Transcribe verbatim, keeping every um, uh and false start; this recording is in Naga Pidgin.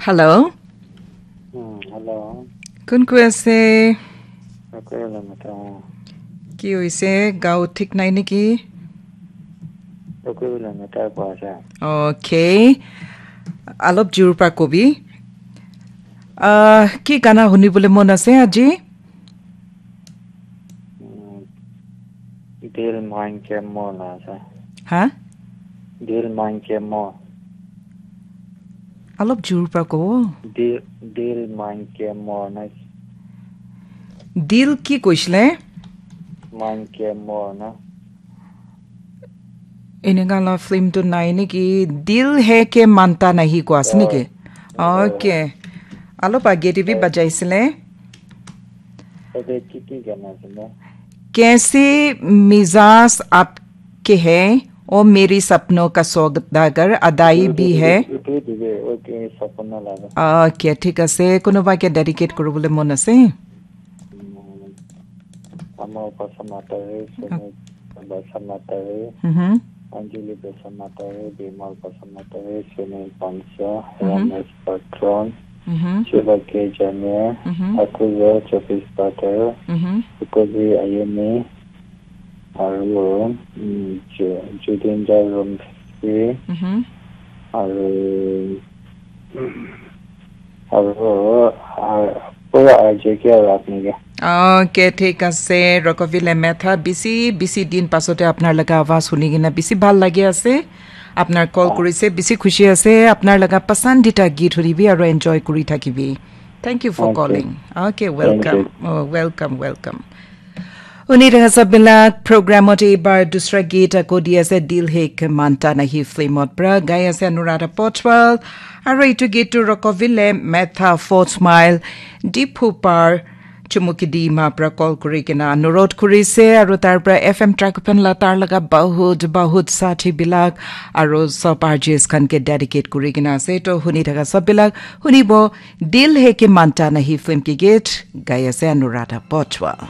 Hello. Hmm, hello. Kun kun ase? Aku la mata. Ki hoise? Gao thik nai neki? Aku la mata ko asa. Okay. Alop jur pra kobi. Ah, ki gana huni bole mon ase aji? Hmm, Dil Main Ke Mo na asa. Ha? Dil Main Ke Mo. Alop jur pra kobo. Dil, Dil Main Ke Mo na. Dil ki koisile? Main Ke Mo na. Eneka la film tu nai neki? Dil Hai Ke Manta Nahi ko ase neki? Okay. Alop age te bi bajaisile. Tate ki ki gana ase na? Kaise Mizaaj Aapke Hai, O Mere Sapnon Ka Saudagar, Adai Bhi Hai. Itu dibe, okay, sapna laga. Okay, thik ase. Kunuba ke dedicate kuribole mon ase? Ama Pasa Matare, Sene Pasa Matare, Mhm. Anjali Pasa Matare, Bimal Pasa Matare, Sene Pansa, Mhm. Ramesh Patron, Mhm. Shiva K Jamir, Mhm. Akuza Chopis Patel, Mhm. Sukobi Ayumi, aru, mm, Ju-, Judendra Rumsi, Mhm. aru, aru, ah, pura R J ke aru apni ke. Okay, thik ase, Rokovile Metha, bisi, bisi din pasote apnar laga awaz huni kena bisi bhal lagi ase. Apnar call Ah. kurise, bisi khushi ase. Apnar laga pasandita geet hunibi aru enjoy kuri thakibi. Thank you for Okay. calling. Okay, Thank welcome. You. Oh, welcome, welcome. Huni thaka sab bilak, program ot ebar dusra geet ako di ase, Dil Hai Ke Manta Nahi film ot pra. Gai ase Anuradha Potwal. Aru etu geet tu Rokovile Metha, Fourth Mile, Diphu Par, Chumukidima pra call kuri kena anurodh kuri se. Aru tar pra F M Track Pen la tar laga bahut, bahut sathi bilak aru sab R Js khan ke dedicate kuri kena ase. To huni thaka sab bilak hunibo, Dil Hai Ke Manta Nahi film ki geet gai ase Anuradha Potwal.